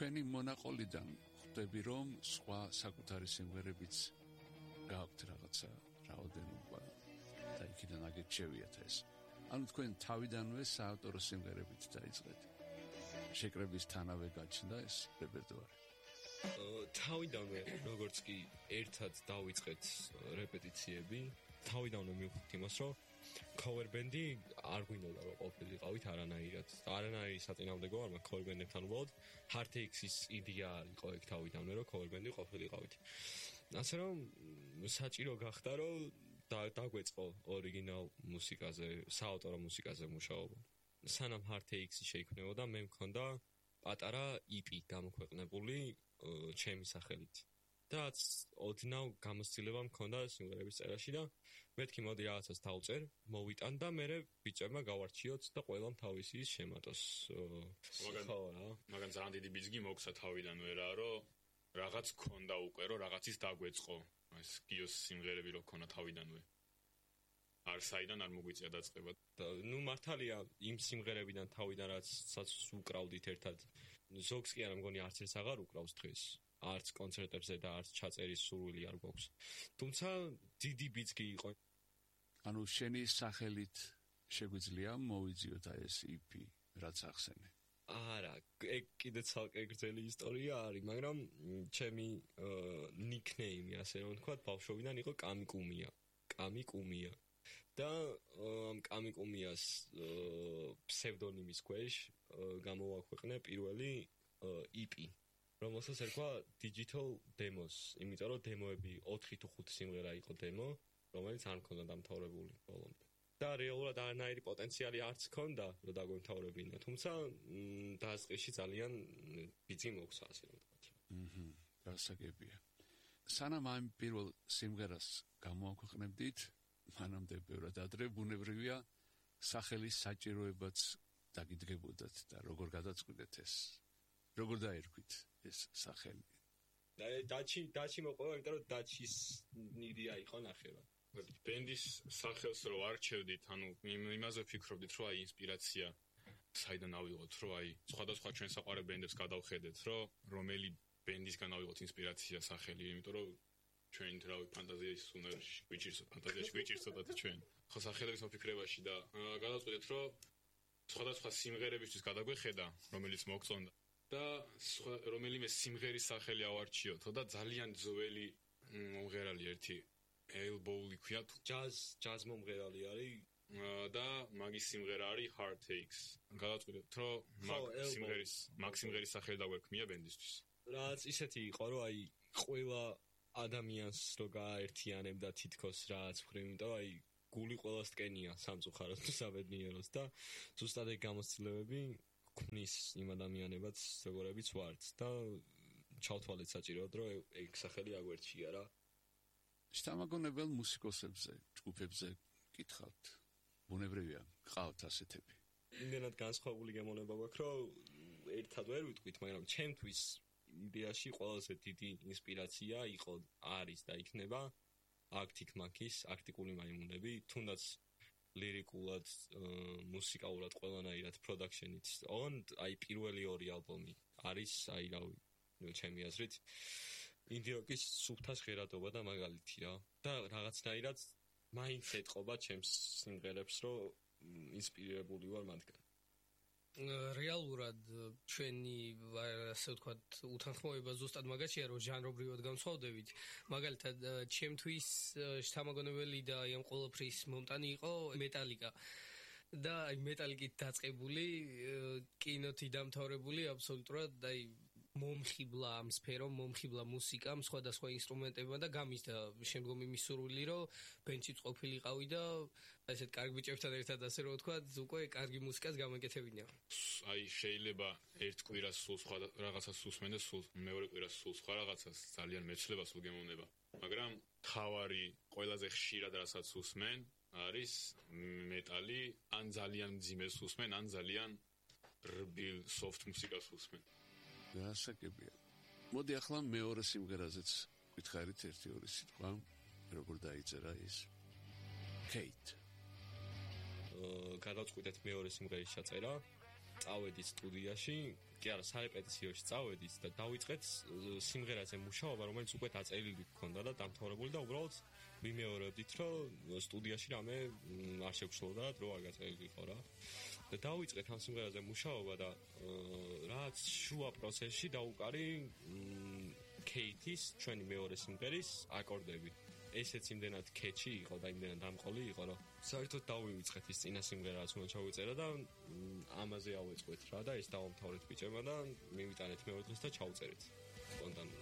თქვენი მონაყოლიდან ხვდები რომ სხვა საკუთარი სიმღერებიც გააქვთ რაღაცა რაოდენობა და იქიდან აგეთ შევიათ ეს. ანუ თქვენ თავიდანვე საავტორო სიმღერებით დაიწყეთ. შეკრებისთანავე გაჩნდა ეს რეპერტუარი. თავიდანვე როგორც კი ერთად დავიწყეთ რეპეტიციები, თავიდანვე მივხვდით იმას, რომ cover band-ი არ გვინდოდა რომ ყოფილიყავით არანაირად. არანაირი საწინააღმდეგო არ მაქვს cover band-ებთან უბრალოდ Heartaches-ის იდეა იყო ეგ თავიდანვე რომ cover band-ი ყოფილიყავით. ასე რომ საჭირო გახდა რომ დაგვეწყო ორიგინალ მუსიკაზე, საავტორო მუსიკაზე მუშაობა. სანამ Heartaches-ი შეიქმნებოდა, მე მქონდა პატარა EP გამოქვეყნებული ჩემი სახელით. და ოდნავ გამოცდილება მქონდა სიმღერების წერაში და მეთქი მოდი რაღაცას დავწერ, მოვიტან და მე ბიჭებმა გავარჩიოთ და ყველამ თავისი შემატოს. მაგან ძალიან დიდი ბიძგი მოგცა თავიდანვე რა, რომ რაღაც ქონდა უკვე, რომ რაღაცის დაგვეწყო. ეს გიოს სიმღერები რო ქონა თავიდანვე. არ საიდან არ მოგვიწია დაწყება. ნუ მართალია იმ სიმღერებიდან თავიდან რაცაც უკრავდით ერთად. ზოგს კი არა მგონი არც ეს აღარ უკრავს დღეს. არც კონცერტებზე და არც ჩაწერის სურვილი არ გვაქვს. თუმცა დიდი ბიძგი იყო. ანუ შენი სახელით შეგვიძლია მოვიძიოთ ეს EP რაც ახსენე. არა, ეგ კიდე ცალკე გრძელი ისტორია არის, მაგრამ ჩემი ნიკნეიმი ასე რომ ვთქვა, ბავშვობიდან იყო კამიკუმია. კამიკუმია. და ამ კამიკუმიას ფსევდონიმის ქვეშ გამოვაქვეყნე პირველი EP. რომელსაც ერქვა Digital Demos, იმიტომ რომ დემოები 4 თუ 5 სიმღერა იყო დემო, რომელიც არ მქონდა დამთავრებული ბოლომდე. და რეალურად არანაირი პოტენციალი არც მქონდა, რომ დაგვემთავრებინა, თუმცა დასაწყისში ძალიან ბიძი მოგცა, ასე რომ ვთქვათ. გასაგებია. სანამ ამ პირველ სიმღერას გამოაქვეყნებდით, მანამდე ბევრად ადრე ბუნებრივია სახელის საჭიროებაც დაგიდგებოდათ და როგორ გადაწყვიტეთ ეს? როგორ დაერქვით ეს სახელი? დაჩი მოყვა, იმიტომ რომ დაჩის იდეა იყო ნახევრად. ბენდის სახელს რო არჩევდით, ანუ იმაზე ვფიქრობდით, რომ აი ინსპირაცია საიდან ავიღოთ, რომ აი სხვადასხვა ჩვენ საყვარელ ბენდებს გადავხედეთ, რომ რომელი ბენდისგან ავიღოთ ინსპირაცია სახელი, იმიტომ რომ ჩვენ რავი ფანტაზიაში უნარში გვიჭირსოთ ჩვენ. ხო სახელების მოფიქრებაში და გადავწყვიტეთ, რომ სხვადასხვა სიმღერებისთვის გადაგვეხედა, რომელიც მოგწონდა. და რომელიმე სიმღერის სახელი ავარჩიოთ და ძალიან ძველი მომღერალი ერთი Elbow-ი ქვია ჯაზ მომღერალი არის და მაგის სიმღერა არის Heartaches. გადავწყვიტეთ რომ მაგ სიმღერის სახელი დაგვექმნია ბენდისთვის. რაც ისეთი იყო რომ აი ყველა ადამიანს რო გააერთიანებდა თითქოს რაც ვხრივ, იმიტომ რომ აი გული ყველას ტკენია სამწუხაროდ თუ საბედნიეროს და ზუსტად ეგ გამოცდილებები ქმნის იმ ადამიანებად როგორებიც ვართ და ჩავთვალეთ საჭიროდ რომ ეგ სახელი აგვერჩია რა. შთამაგონებელ მუსიკოსებზე, ჯგუფებზე გითხავთ. ბუნებრივია, გყავთ ასეთები. იმდენად განსხვავებული გემოვნება გვაქვს, რომ ერთად ვერ ვიტყვით, მაგრამ ჩემთვის იდეაში ყველაზე დიდი ინსპირაცია იყო არის და იქნება Arctic Monkeys, არქტიკული მაიმუნები, თუნდაც ლირიკულად, მუსიკალურად ყველანაირად პროდაქშენით. აი პირველი ორი ალბომი არის, აი რავი, ჩემი აზრით, ინდიოკის სუფთა ჟღერადობა და მაგალითი რა. და რაღაცნაირად მაინც ეთყობა ჩემს სიმღერებს, რომ ინსპირირებული ვარ მათგან. რეალურად ჩვენი ასე ვთქვათ უთანხმოება ზუსტად მაგაშია რომ ჟანრობრივად განსხვავდებით. მაგალითად ჩემთვის შთამაგონებელი და ამ ყველაფრის მომტანი იყო მეტალიკა. და აი მეტალიკით დაწყებული კინოთი დამთავრებული აბსოლუტურად აი მომხიბლა ამ სფერომ, მომხიბლა მუსიკამ, სხვადასხვა ინსტრუმენტებმა და გამიზდა შემდგომ იმის სურვილი, რომ ბენჩიც ყოფილიყავი და ესეთ კარგ ბიჭებთან ერთად ასე რომ ვთქვათ, უკვე კარგი მუსიკას გამეკეთებინა. აი შეიძლება ერთ კვირას სულ სხვა რაღაცას უსმენ და სულ მეორე კვირას სულ სხვა რაღაცას ძალიან მეცლება სულ გემოვნება. მაგრამ თავარი ყველაზე ხშირად რასაც უსმენ არის მეტალი, ან ძალიან მძიმეს უსმენ, ან ძალიან რბილ soft მუსიკას უსმენ. გასაგებია. მოდი ახლა მეორე სიმღერაზეც გითხარით ერთი-ორი სიტყვა, როგორ დაიწერა ის. Kate. გადავწყვიტეთ მეორე სიმღერის ჩაწერა. წავედით სტუდიაში, კი არა, სარეპეტიციოში წავედით და დავიწყეთ სიმღერაზე მუშაობა, რომელიც უკვე დაწერილი გქონდა და დამთავრებული და უბრალოდ ვიმეორებდით, რომ სტუდიაში რამე არ შეგვშლოდა, დრო არ გაწერილიყო რა. და დავიწყეთ ამ სიმღერაზე მუშაობა და რაც შუა პროცესში დაუკარი კეითის ჩვენი მეორე სიმღერის აკორდები. ესეც იმდენად კეჩი იყო და იმდენად დამყოლი იყო, რომ საერთოდ დავივიწყეთ ის წინა სიმღერაც უნდა ჩავიწერა და ამაზე ავეწყეთ რა და ეს დავამთავრეთ ბიჭებმა და მივიტანეთ მეორე დღეს და ჩავწერეთ სპონტანურად.